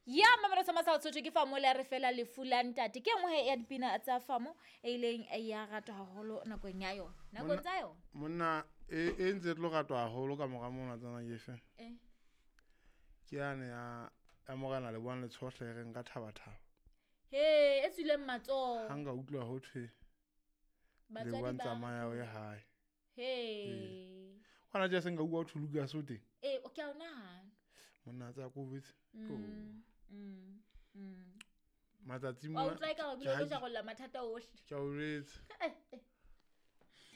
Ya mamelo sa masao Sotho ke famo le a re fela lefu la ntate. Ke e nngwe ya dipina tsa famo e ileng ya ratwa haholo nakong ya yona. Nakong tsa yona. Monna e e ntse e tlo ratwa haholo ka mora mona tsana ke fe. Eh. Ke yane ya ya morena le buang le tshohle e reng ka thaba thaba. He, e tswileng matsoho. Ha nka utlwa ho thwe le Batswadi buang ba. tsamaya o ye hae. He. Kwana tje se nka utlwa ho thwe Lucas o teng. Eh, o ke a o nahana. Monna tsa ko botse. Matsatsi Wa mona. utlwa eka o ke bile o ha tlo jarolla mathata ohle. Ke a o jwetsa.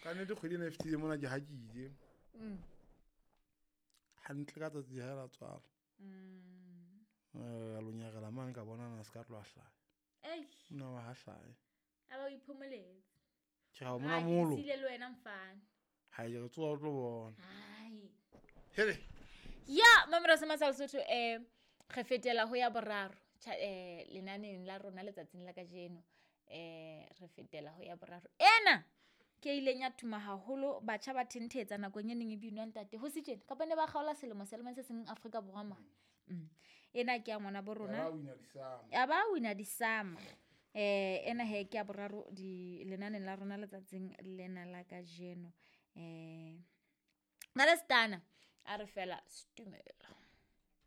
Ka nnete kgwedi ena e fetile mona ke ha ke ile. Hantle ka tsatsi ha la tswala. Eh, a lonyarela mane ka bona na se ka tloha hlaha. Ei, Monna wa ha hlahe. a ba o iphomoletse. Ke ra o mona Ha, ke molo. siile le wena mfana. Ha ke re tsoha o tlo bona. Hai. Hele. Ya, mamelo sa masao Sotho re fetela ho ya boraro lenaneng la rona letsatsing la kajeno. Re fetela ho ya boraro. Ena ke e ileng ya tuma haholo batjha ba thentetsa nakong e neng e binwa ntate ho se tjena kapa ne ba kgaola selemo selemong se seng Afrika Borwa mane. Ena ke ya ngwana bo rona. Ba wina disama. Ya ba wina disama. Ena he ke ya boraro di lenaneng la rona letsatsing lena la kajeno. Nna le Stana a re fela stumela.